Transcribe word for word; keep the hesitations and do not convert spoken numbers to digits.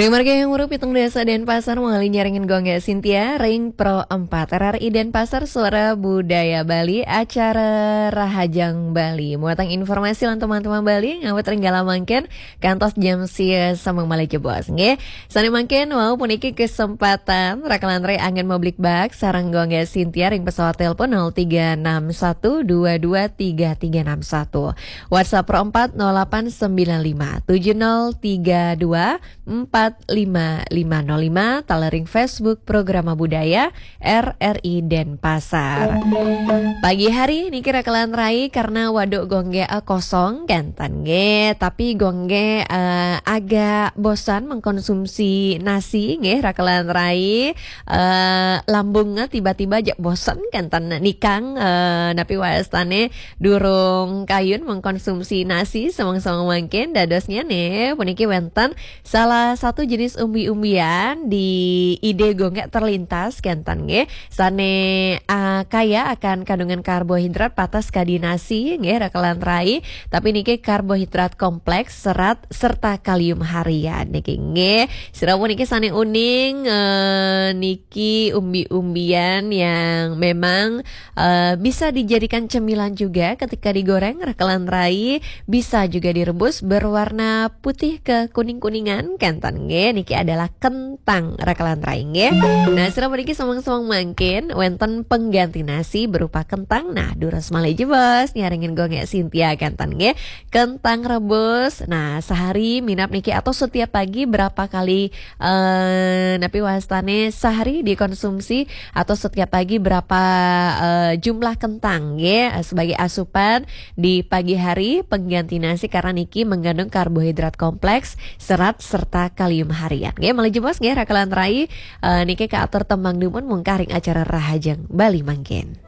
Ring margi yang murup pitung dasa Denpasar, mangkin nyarengin Gung Gé Sintia ring Pro empat R R I Denpasar, Suara Budaya Bali, acara Rahajeng Bali. Muatan informasi lan teman-teman Bali, ngawit ring galah mangkin, kantos jam sia sambung malih jebos, nggih. Sané mangkin wau puniki kesempatan, rakelan rai anggén mablikbak sareng Gung Gé Sintia ring pesawat telepon nol tiga enam satu dua dua tiga tiga enam satu. WhatsApp Pro empat nol delapan sembilan lima tujuh nol tiga dua empat lima lima nol lima, taler ring Facebook Programa Budaya R R I Denpasar. Pagi hari niki rakelan rai karena waduk Gung Gé, eh, kosong kénten nggih, tapi Gung Gé, eh, agak bosan mengkonsumsi nasi nggih rakelan rai. Eh, lambungnya tiba-tiba aja bosan kénten nikang, eh, napi wastané durung kayun mengkonsumsi nasi semeng-semeng mangkin. Dadosnya nih puniki wénten salah satu jenis umbi-umbian di ide Gung Gé terlintas kénten nggih, sané, ah, kaya akan kandungan karbohidrat patas kadi nasi nggih rakelan rai, tapi niki karbohidrat kompleks, serat serta kalium harian niki nggih. Sira puniki sané uning, eh, niki umbi-umbian yang memang, eh, bisa dijadikan cemilan juga ketika digoreng rakelan rai, bisa juga direbus berwarna putih kekuning-kuningan kénten nggih. Niki adalah kentang rakelan rai nggih. Nah, sira puniki semeng-semeng mangkin wénten pengganti nasi berupa kentang. Nah, durus malih jebos nyarengin Gung Gé Sintia kénten nggih. Kentang rebus. Nah, sehari minab niki atau setiap pagi berapa kali, eh, napi wastané sehari dikonsumsi atau setiap pagi berapa, eh, jumlah kentang nggih, eh, sebagai asupan di pagi hari pengganti nasi karena niki mengandung karbohidrat kompleks, serat serta kalium harian. Nggih, malih jebos nggih rakelan rai, eh, niki kaatur tembang dumun mungkah ring acara Rahajeng Bali mangkin.